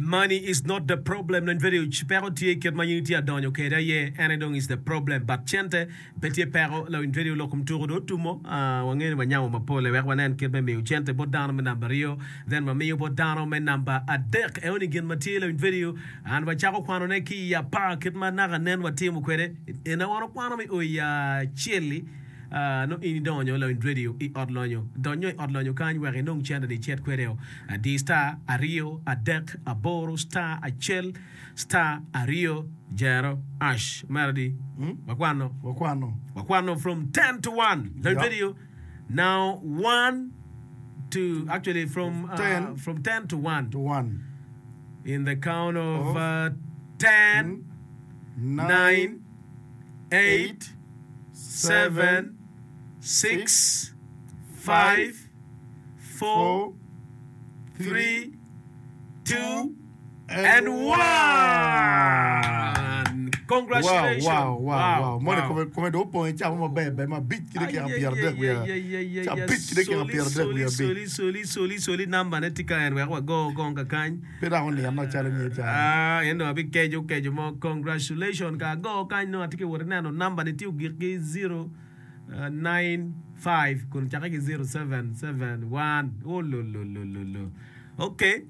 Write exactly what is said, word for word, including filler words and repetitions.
Money is not the problem. Lony radio peko tye kit ma in itye adonyo kede aye ene dong is the problem. But cente pe tye peko. Lony radio lok kom tuko do otumo. Uh, wangeyo ni wanyamo mapol wek wanen kit me miyo cente bot dano me namba aryo. Then wamiyo bot dano me namba adek. Eo ni gin ma tye lony radio. An wacako kwanone ki i apar kit ma naka nen watimo kwede. Ena wan okwano mi o i acel-li. Uh, no in idonyo lony radio i ot lonyo. Donyo i ot lonyo kany wek inong cente ni icit kwede o. Di star aryo adek aboro star acel star aryo zero hash. Melody, wakwano. Wakwano. Wakwano from ten to one. Lony Yeah. radio. Now one to actually from uh, ten. From ten to one. To one. In the count of Of uh, ten, nine, nine, eight, eight, seven, six, five, four, four, three, two, and and one. Congratulations. Wow, wow, wow, wow. Moni Wow. kome kome do opong i cawa maber ber ma abic ki dakika Ay, pyera ay, adek ay, wiye. ay, ay, ay, Ca ay, abic ki dakika soli, pyera adek soli, wiye abic. soli, soli, soli, soli, namba ne tye ka en wek wago kong kakany. Pe dok onino calo nge ca. Ah, en dong abikeco keco mo. Congratulations ka ago kany no atye ka wot ineno namba ni tye ogik ki zero uh, nine five kun cake ki zero seven seven one. Ololololo. Okay.